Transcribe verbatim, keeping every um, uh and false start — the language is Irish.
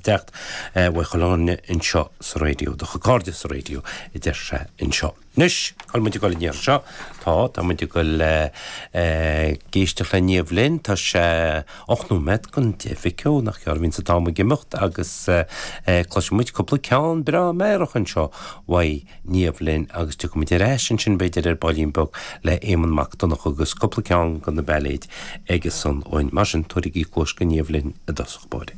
teacht uaidh chuile dhuine anseo sa raidió, do chuid cairde sa raidió, a deir sé anseo. Anois, cá bhfuil muid ag dul an iarraidh seo? Tá, tá muid ag dul ag éisteacht le Niamh Lynn, tá sé ocht nóiméad don deich mhic ó, nach gearr a bhíonn an t-am ag imeacht agus cloisfidh muid cúpla ceann breá meidhreach anseo uaidh Niamh Lynn agus tiocfaidh muid ar ais ansin b'fhéidir ar baillín beag le Éamonn Mac Donncha agus cúpla ceann de na bailéid aige san uainn. Mar sin, tabhairigí cluas do Niamh Lynn i dtosach báire.